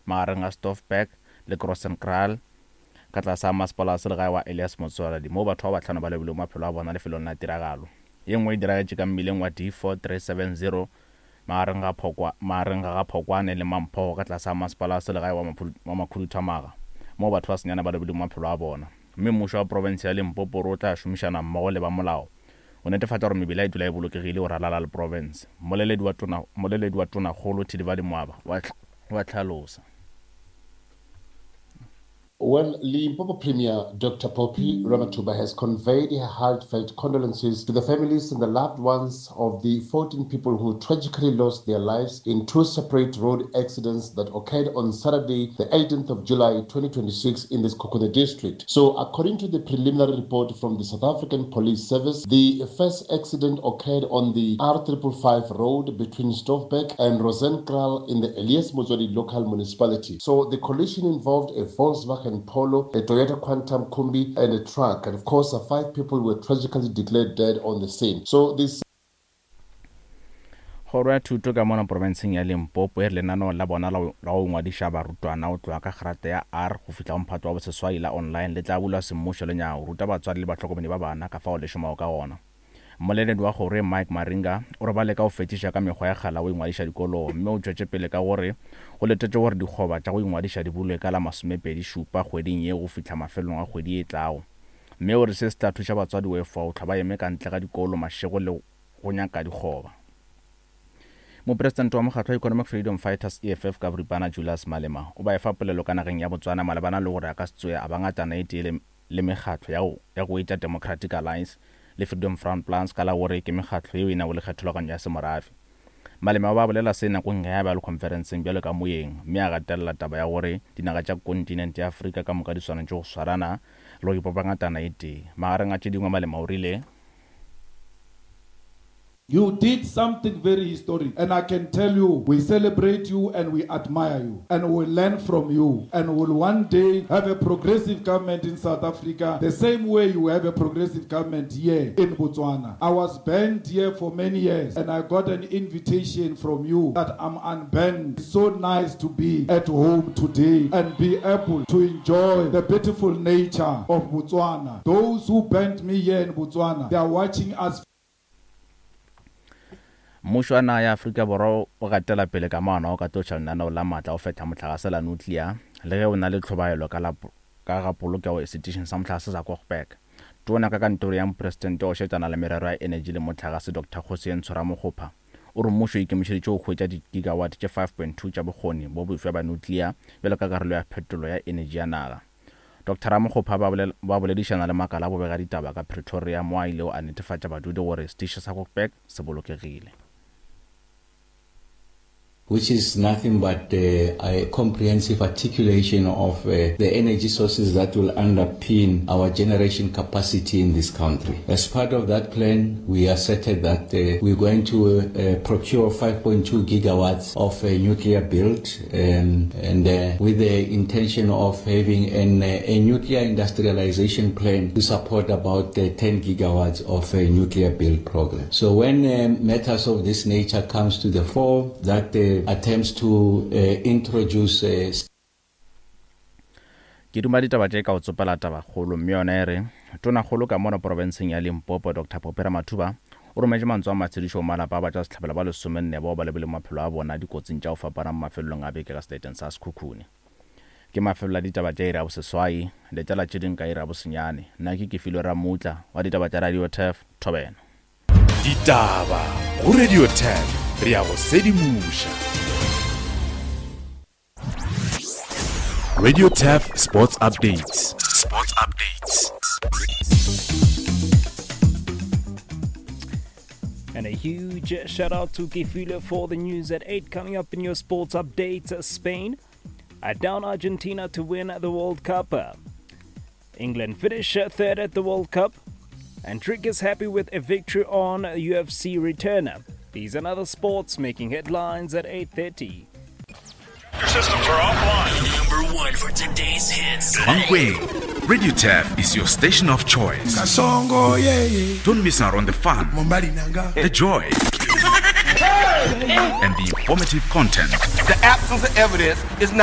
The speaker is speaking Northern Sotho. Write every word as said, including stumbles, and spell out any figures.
magareng ga Stoffberg le Grossenkral ka tlase ga masepala wa selegae wa Elias Motsoaledi moo batho ba bahlano ba lobilego maphelo a bona lefelong la tiragalo. Ye nngwe e diragetše ka mmileng wa D four three seven zero magareng ga Phokwa, magareng ga ga Phokwane le Mamphogo ka tlase ga masepala wa selegae wa wa Makhuduthamaga moo batho ba senyane ba lobilego maphelo a bona. Mme mmušo wa profense ya Limpopo o re o tla šomišana mmogo le ba molao go netefatša gore mebila e dula e bolokegile go ralala le profense. Mmoleledi wa tona, mmoleledi wa Tonakgolo Thilivhali Mwaba wa, wa hlalosa. Well, Limpopo Premier Doctor Phophi Ramathuba has conveyed her heartfelt condolences to the families and the loved ones of the fourteen people who tragically lost their lives in two separate road accidents that occurred on Saturday, the eighteenth of July twenty twenty-six in the Sekhukhune district. So, according to the preliminary report from the South African Police Service, the first accident occurred on the R triple five road between Stoffberg and Rosenkral in the Elias Motsoaledi local municipality. So, the collision involved a Volkswagen Polo, a Toyota Quantum Kombi, and a truck. And of course, uh, five people were tragically declared dead on the scene. So this Kgoro ya thuto ka mona profenseng ya Limpopo e re lenaneo la bona la go ngwadiša barutwana go tloga ka grata ya R go fihla go mphato wa boseswai la online le tla bulwa semmušo le nyago ruta batswadi le bahlokomedi ba bana ka fao le šomago ka gona. Mmoleledi wa kgoro Mike Maringa o re ba leka go fetiša ka mekgwa ya kgala go ingwadiša dikolong, mme o tšwetše pele ka gore go letetše gore dikgoba tša go ingwadiša di bulwe ka la masomepedi šupa kgweding ye go fihla mafelong a kgwedi e tlago. Mme o re se se tla thuša batswadi go efoga go hlwa ba eme ka ntle ga dikolo mašego le go nyaka dikgoba. Mopresidente wa mokgatlo wa Economic Freedom Fighters E F F ka boripana Julius Malema o ba efa polelo ka nageng ya Botswana malebana le gore a ka se tsoe a ba ngatana e tee le, le mekgatlo ya go, ya go etša Democratic Alliance le Freedom Front Plus ka la gore ke mekgatlo yeo e nago le kgethologanyo ya semorafe. Malema ba bolela se nakong ge a ba le conferenceng bjalo ka moyeng, mme a gatelela taba ya gore dinaga tša kontinente ya Afrika ka moka di swanetše go swarana le go ipopa ngatana e tee. Magareng a tše dingwe Malema o rile, You did something very historic, and I can tell you, we celebrate you and we admire you, and we learn from you, and we'll one day have a progressive government in South Africa, the same way you have a progressive government here in Botswana. I was banned here for many years, and I got an invitation from you that I'm unbanned. It's so nice to be at home today and be able to enjoy the beautiful nature of Botswana. Those who banned me here in Botswana, they are watching us. Mmušo wa naga ya Afrika Borwa o gatela pele ka maano a go katološa lenaneo la maatla go fehla mohlagase la nuclear le ge o na le tlhobaelo ka la ka ga polokego setišing sa mohlagase sa Kochberg. Tona ka kantoro ya mopresidente o šetšana le merero ya energy le mohlagase Doctor Kgosientsho Ramokgopa o re mmušo o ikemišeditše go hwetša di-gigawatt tše five point two tša bokgoni bo bofsa bja nuclear bjalo ka karolo ya phetolo ya energy ya naga. Doctor Ramokgopa ba bolela, ba boledišana le makala a bobega ditaba ka Pretoria mo a ilego a netefatša badudi gore setiši sa Kochberg se bolokegile. Which is nothing but, uh, a comprehensive articulation of, uh, the energy sources that will underpin our generation capacity in this country. As part of that plan, we asserted that, uh, we're going to, uh, procure five point two gigawatts of, uh, nuclear build, um, and, uh, with the intention of having an, uh, a nuclear industrialization plan to support about, uh, ten gigawatts of a nuclear build program. So when, uh, matters of this nature comes to the fore, that, uh, attempts to, uh, introduce, uh, Ke duma ditaba tše ka go tsopela tabakgolo, mme yona e re tonakgolo ka mono profenseng ya Limpopo Doctor Phophi Ramathuba o rometše mantswe a matshedišo go malapa a batšwasehlabelo ba lesomenne bao ba lebileng maphelo a bona dikotsing tša go fapana mo mafelelong a beke ka seleteng sa Sekhukhune. Ke mafelelo a ditaba tša iri ya boseswai, letela tše dingwe ka iri ya bosenyane. Nna ke Kefilwe Ramutla wa ditaba tša Radio Turf, Thobela. Ditaba go Radio Turf, re ya go sedimoša. Radio Turf Sports Updates. Sports Updates. And a huge shout out to Kefilwe for the news at eight. Coming up in your sports updates, Spain are down Argentina to win the World Cup. England finish third at the World Cup. And Trick is happy with a victory on U F C returner. These and other sports making headlines at eight thirty. Your systems are offline. Number one for today's hits. Mankweng, Radio Turf is your station of choice. Kasongo, yeah, yeah. Don't miss out on the fun, Mombali Nanga. the joy, and the informative content. The absence of evidence is not